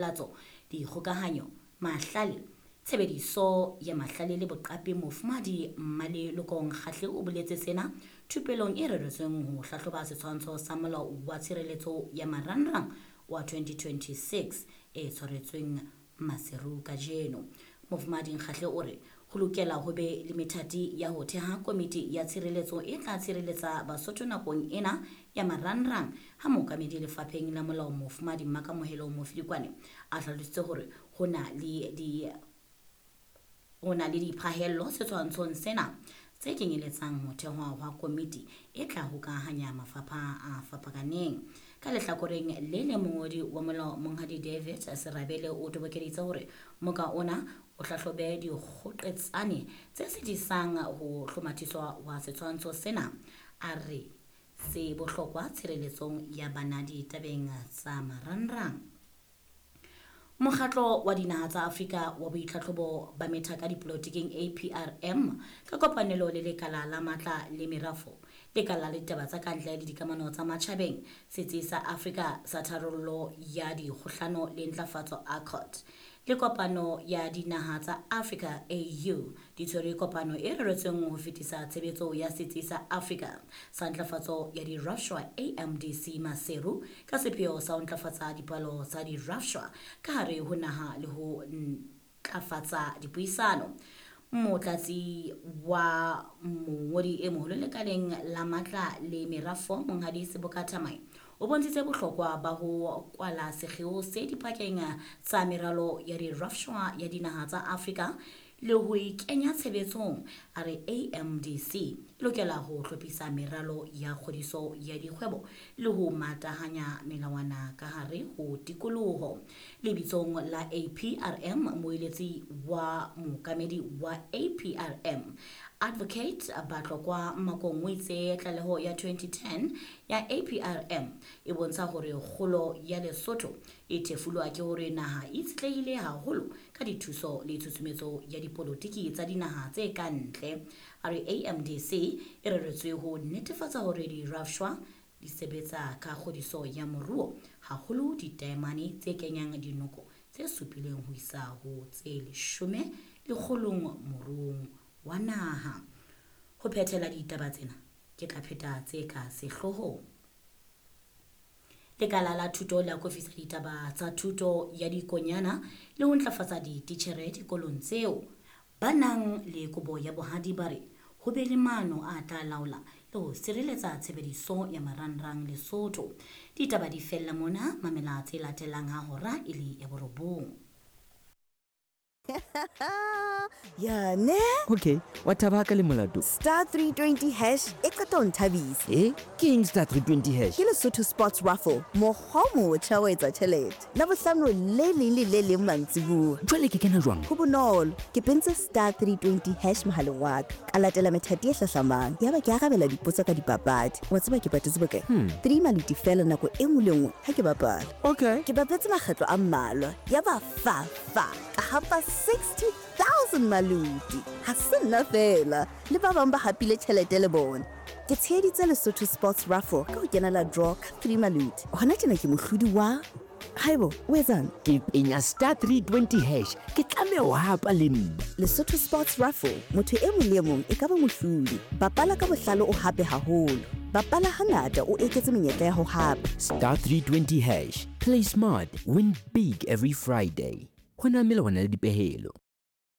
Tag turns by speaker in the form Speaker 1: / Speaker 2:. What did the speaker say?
Speaker 1: Latso, Dikgokahanyo, Mahlale, Tshebediso ya Mahlale le Boqapi Mofumahadi Mmaleloko Nkgahle o boletse sena thupelong e reretsweng ho hlahloba setshwantsho sa Molao wa Tshireletso ya Marangrang wa 2026 e tshwaretsweng Maseru kajeno. Mofumahadi Nkgahle o re Ho lokela ho be le methati ya ho theha komiti ya tshireletso e tla tshireletsa Basotho nakong ena ya marangrang ha mookamedi lefapheng la molao Mofumadi Mmakamohelo Mofilikwane a hlalositse hore ho na le di ho na le diphahello setshwantshong sena tse kenyeletsang ho thehwa hwa komiti e tla hokahanya mafapha a fapakaneng. Ka lehlakoreng le leng mongodi wa molao Monghadi David Serabele o tobokeditse hore moka ona o hlahlobe dikgoqetsane tse sitisang ho hlomathiswa hwa setshwantsho sena, a re se bohlokwa tshireletsong ya bana ditabeng tsa marangrang. Mokgatlo wa Dinaha tsa Afrika wa Boitlhatlhobo ba Methaka Dipolotiking, APRM, ka kopanelo le Lekala la Matla le Merafo, Lekala la Ditaba tsa Kantle le Dikamano tsa Matjhabeng, Setsi sa Afrika sa Tharollo ya Dikgohlano le Ntlafatso, ACOT, le Kopano ya Dinaha tsa Afrika, AU, di tshwere kopano e reretsweng ho fetisa tshebetso ya Setsi sa Afrika sa Ntlafatso ya Dirafshwa, AMDC, Maseru, ka sepheo sa ho ntlafatsa dipalo tsa dirafshwa ka hare ho naha le ho ntlafatsa dipuisano. Motlatsi wa mongodi e moholo lekaleng la matla le merafo, Monghadi Seboka Thamae, O bontshitse bohlokwa ba ho kwala sekgeo se dipakeng tsa meralo ya dirafshwa ya dinaha tsa Afrika le ho e kenya tshebetsong. A re AMDC e lokela ho hlophisa meralo ya kgodiso ya dikgwebo le ho matahanya melawana ka hare ho tikoloho. Lebitsong la APRM, moeletsi wa mookamedi wa APRM, Advocate Batlokwa Makong o itse tlaleho ya 2010 ya APRM e bontsha hore kgolo ya Lesotho e thefulwa ke hore naha e itshetlehile haholo ka dithuso le tshusumetso ya dipolotiki tsa dinaha tse ka ntle. A re AMDC e reretswe ho netefatsa hore dirafshwa di sebetsa ka kgodiso ya moruo, haholo ditaemane tse kenyang dinoko tse supileng ho isa ho tse leshome lekgolong moruong wa naha. Ho phethela ditaba tsena, ke tla pheta tse ka sehloohong. Lekala la thuto le akofisa ditaba tsa thuto ya dikonyana le ho ntlafatsa dititjhere dikolong tseo. Ba nang le kobo ya bohadi ba re ho be le maano a tla laola le ho sireletsa tshebediso ya marangrang Lesotho. Ditaba di fella mona, mamela tse latelang ha hora e le ya borobong.
Speaker 2: Ya ne?
Speaker 3: Okay, wa thaba ka le molato.
Speaker 2: Star 320 hash e qeta ho nthabisa.
Speaker 3: Eh, ke eng star 320 hash?
Speaker 2: Ke Lesotho Sports Raffle, mokgwa o motjha wa etsa tjhelete. Labohlano le leng le le leng mantsibuya.
Speaker 3: Jwale ke kena jwang?
Speaker 2: Ho bonolo, ke pentse star 320 hash mohaleng wa ka. Ka latela methati e hlahlamang. Yaba ke arabela dipotso ka dipapadi. Wa tseba ke patetse bokae? 3 maluti feela nako e nngwe le nngwe ha ke bapala.
Speaker 3: Okay.
Speaker 2: Ke bapetse makgetlo a mmalwa. Yaba fa fa ka hapa 60,000 maluti. Ha se nna feela, le ba bang ba hapile tjhelete le bona. Ke tsheheditse Lesotho Sports Raffle ka ho kenela draw ka 3 maluti. Hona tjena ke mohlodi wa Haibo, o etsang?
Speaker 3: Ke penya star 320 hash. Ke tlameha ho hapa le nna.
Speaker 2: Lesotho Sports Raffle, motho e mong le e mong e ka ba mohlodi. Bapala ka bohlale o hape haholo. Bapala hangata o eketse menyetla ya ho hapa.
Speaker 3: Star 320 hash. Play smart, win big every Friday. Ho na melawana le dipehelo.